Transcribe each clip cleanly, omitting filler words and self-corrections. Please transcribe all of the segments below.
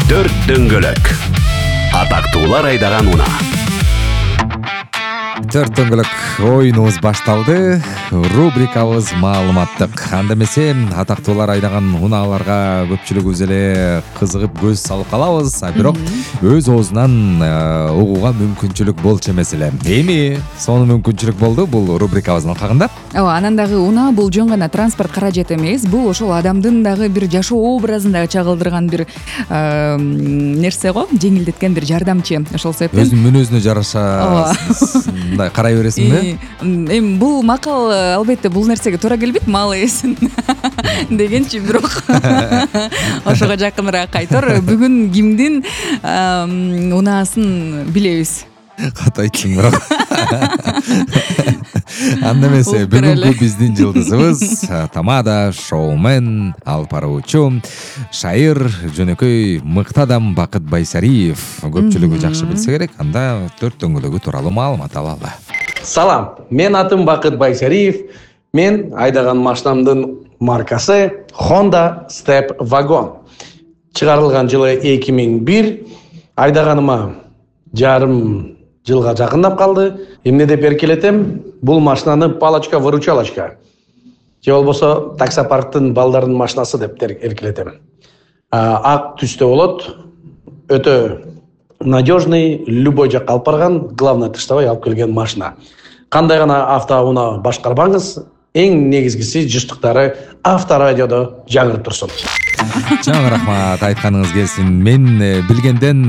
Төрт дөңгөлөк. Атактуулар айдаган унаа. Төрт дөңгөлөк оюнубуз башталды. Рубрикабыз маалыматтык. Анда эмесе атактуулар айдаган унааларга көпчүлүгүбүз эле кызыгып көз салып калабыз, бирок өз оозунан угууга мүмкүнчүлүк болчу эмес эле. Эми сонун мүмкүнчүлүк болду бул рубрикабыздын алкагында. Ооба, анан дагы унаа бул жөн гана транспорт каражат эмес, бул ошол адамдын дагы бир жашоо образын дагы чагылдырган бир нерсе го, жеңилдеткен бир жардамчы. Ошол себептен Өзүнүн мүнөзүнө жараша мындай карай бересиңби? Эми бул макал албетте бул нерсеге туура келбейт, малы эсин дегенчи, бирок ошого жакыныраак айтор. Бүгүн кимдин унаасын билебиз. Кат айттың бирок. Анда эмесе бүгүнкү биздин жылдызыбыз тамада, шоумен, алып баруучу, шайыр, жөнөкөй мыкты адам Бакыт Байсариев. Көпчүлүгү жакшы билсе керек. Анда төрт дөңгөлөгү тууралуу маалымат алалы. Салам, мен атым Бакыт Байсариев. Мен айдаган машинамдын маркасы Honda Step Wagon. Чыгарылган жылы 2001. Айдаганыма жарым жылга жакындап калды. Эмне деп эркелетем? Бул машинаны палочка-выручалочка же болбосо таксопарктын балдардын машинасы деп эркелетем. Ак түстө болот. Өтө надежный, любой жакка алып барган, главное тыштабай алып келген машина. Кандай гана автоунаа башкарбаңыз, эң негизгиси жыштыктары авторадиодо жаңырып турсун. Чоң рахмат, айтканыңыз келсин. Мен билгенден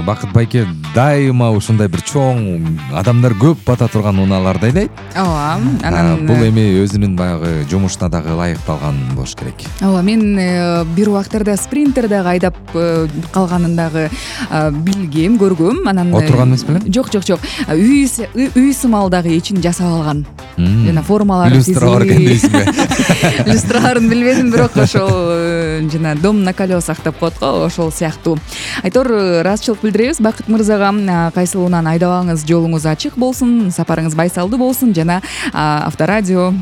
Бакыт байке дайыма ушундай бир чоң адамдар көп бата турган унааларды айдайт. Ооба, анан бул эми өзүнүн баягы жумушуна дагы ылайыкталган болуш керек. Ооба, мен бир убактарда спринтер дагы айдап калганын дагы билгем, көргөм. Анан отурган эмес белем? Жок. Үй сымал дагы ичин жасап алган. Жана формаларын иллюстратор экен дейсиңби? Иллюстраторун билбедим, бирок ошол жана дом на колесах деп коет го, ошол сыяктуу. Айтор, ыраазычылык билдиребиз Бакыт мырзага. Кайсыл унааны айдабаңыз, жолуңуз ачык болсун, сапарыңыз байсалдуу болсун жана авторадио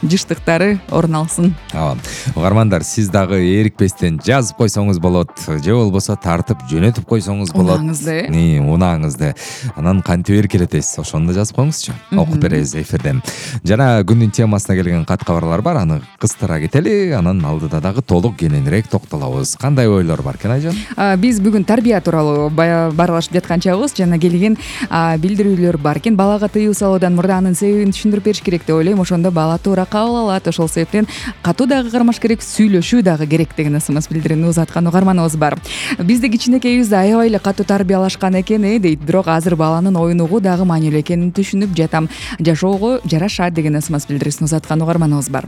жыштыктары орун алсын. Ооба. Угармандар, сиз дагы эрикпестен жазып койсоңуз болот, же болбосо тартып жөнөтүп койсоңуз болот. Унааңызды. Анан кантип эркелетесиз, ошону да жазып коюңузчу. Окуп беребиз эфирден. Жана күндүн темасына келген кат кабарлар бар, аны кыстыра кетели, анан алдыда дагы толук кененирээк токтолобуз. Кандай ойлор бар экен, Айжан? Биз бүгүн тарбия тууралуу баарлашып жатканчабыз, жана келген билдирүүлөр бар экен. Балага тыюу салуудан мурда анын себебин түшүндүрүп бериш керек деп ойлойм. Ошондо бала туура кабыл алат. Ошол себептен катуу дагы кармаш керек, сүйлөшүү дагы керек деген смс билдирүүнү узаткан угарманыбыз бар. Бизде кичинекейибиз аябай эле катуу тарбиялашкан экен, дейт. Бирок азыр баланын оюн угуу дагы маанилүү экенин түшүнүп жатам. Жашоого жарашат деген смс билдирүүсүн узаткан угарманыбыз бар.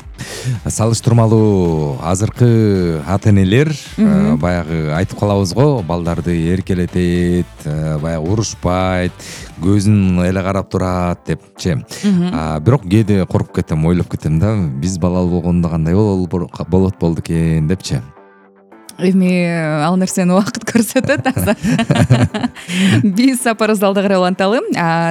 Салыштырмалуу азыркы ата-энелер баягы айтып калабыз го, балдарды эркелетет, баягы урушпайт, көзүн эле карап турат депчи. Бирок кээде коркуп кетем, ойлоп кетем да, биз балалуу болгондо кандай болду экен депчи. Эми ал нерсени убакыт көрсөтөт азыр. Биз сапарыбызды алда карай уланталы.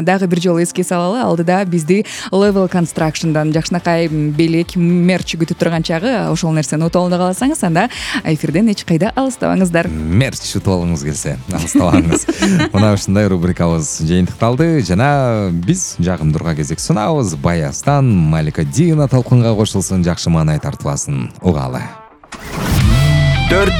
Дагы бир жолу эске салалы, алдыда бизди Level Construction'дан жакшынакай белек, мерч күтүп турган чагы. Ошол нерсени утуп алууну кааласаңыз, анда эфирден эч кайда алыстабаңыздар. Мерч утуп алгыңыз келсе, алыстабаңыз. Мына ушундай рубрикабыз жыйынтыкталды жана биз жагымдууга кезек сунаабыз. Баястан Малика Дина талкынга кошулсун, жакшы маанай тартыласын. Угалы.